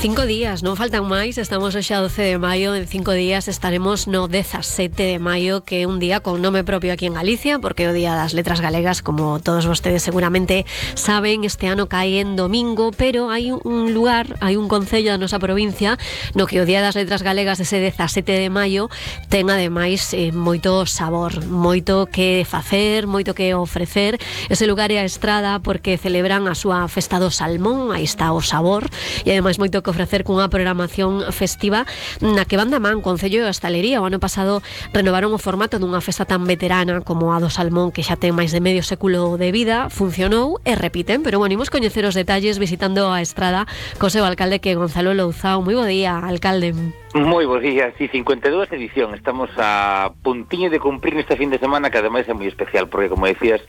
5 días, non faltan máis. Estamos hoxe a 12 de maio. En 5 días estaremos no 17 de maio, que é un día con nome propio aquí en Galicia, porque é o Día das Letras Galegas, como todos vostedes seguramente saben. Este ano cae en domingo, pero hai un lugar, hai un concello da nosa provincia no que o Día das Letras Galegas, ese 17 de maio, ten ademais moito sabor, moito que facer, moito que ofrecer. Ese lugar é a Estrada, porque celebran a súa festa do salmón. Aí está o sabor, e ademais moito que ofrecer cunha programación festiva na que van da man Concello e Hostalería. O ano pasado renovaron o formato dunha festa tan veterana como a do salmón, que xa ten máis de medio século de vida. Funcionou e repiten, pero bueno, imos coñecer os detalles visitando a Estrada co seu alcalde, que é Gonzalo Louzao. Moi bo día, alcalde. Moi bo día, sí, 52 edición. Estamos a puntiño de cumprir neste fin de semana, que ademais é moi especial, porque como decías,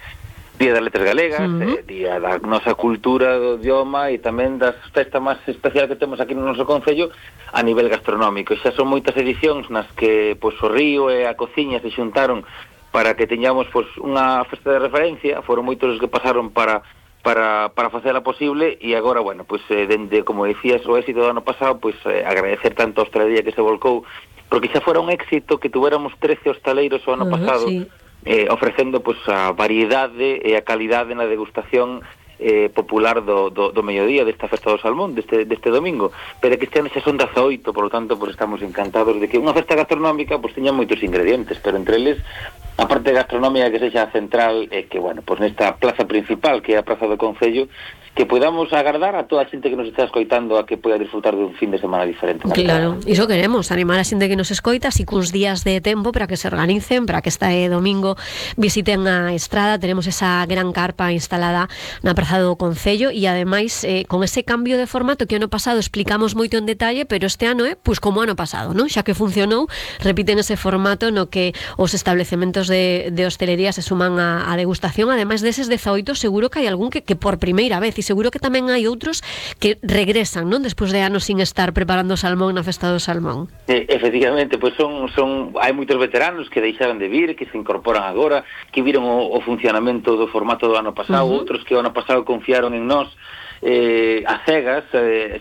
Día das Letras Galegas, día da nosa cultura, do idioma, e tamén das festas máis especial que temos aquí no noso concello a nivel gastronómico. Xa son moitas edicións nas que pois, o río e a cociña se xuntaron para que teñamos pois, unha festa de referencia. Foron moitos os que pasaron para facela posible, e agora, bueno, pois dende, como decías, o éxito do ano pasado, pois agradecer tanto a hostalería que se volcou, porque xa fora un éxito que tuéramos 13 hostaleiros o ano pasado, sí, ofrecendo pois a variedade e a calidade na degustación popular do mediodía desta festa do salmón, deste domingo. Pero que este ano xa son 18, por lo tanto, pois estamos encantados de que unha festa gastronómica pois teña moitos ingredientes, pero entre eles a parte gastronómica que sexa central, que, bueno, pois nesta plaza principal, que é a Praza do Concello, que podamos agardar a toda a xente que nos está escoitando a que poida disfrutar dun fin de semana diferente. Claro, iso queremos, animar a xente que nos escoita, así cuns días de tempo para que se organicen, para que este domingo visiten a Estrada. Tenemos esa gran carpa instalada na Praza do Concello, e ademais con ese cambio de formato que ano pasado explicamos moito en detalle, pero este ano é pois como ano pasado, non? Xa que funcionou, repiten ese formato no que os establecementos de hostelería se suman a degustación. Ademais deses 18, seguro que hai algún que por primeira vez, e seguro que tamén hai outros que regresan, non? Despois de anos sin estar preparando salmón na festa do salmón. Efectivamente, pois hai moitos veteranos que deixaron de vir, que se incorporan agora, que viron o funcionamento do formato do ano pasado, outros que o ano pasado confiaron en nós a cegas,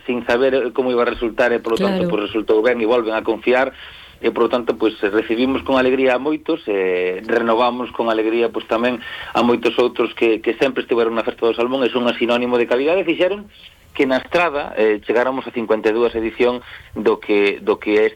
sin saber como iba a resultar, e polo tanto pois resultou ben e volven a confiar. E, por lo tanto, pois recibimos con alegría a moitos, renovamos con alegría pois tamén a moitos outros que sempre estiveron na festa do salmón e son un sinónimo de calidade. Fixeron que na Estrada chegáramos a 52 edición do que é